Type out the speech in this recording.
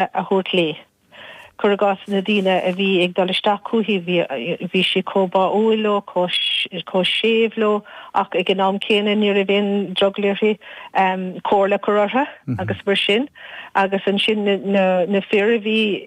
a thabhairt léi. Cuir i gcás na daoine a bhí ag dul isteach chúithi, bhí sí chomh báúil leo, chomh séimh leo ach ag an am céanna ní raibh aon drogall uirthi comhairle a chur orthu agus mar sin. Agus ansin na fir a bhí.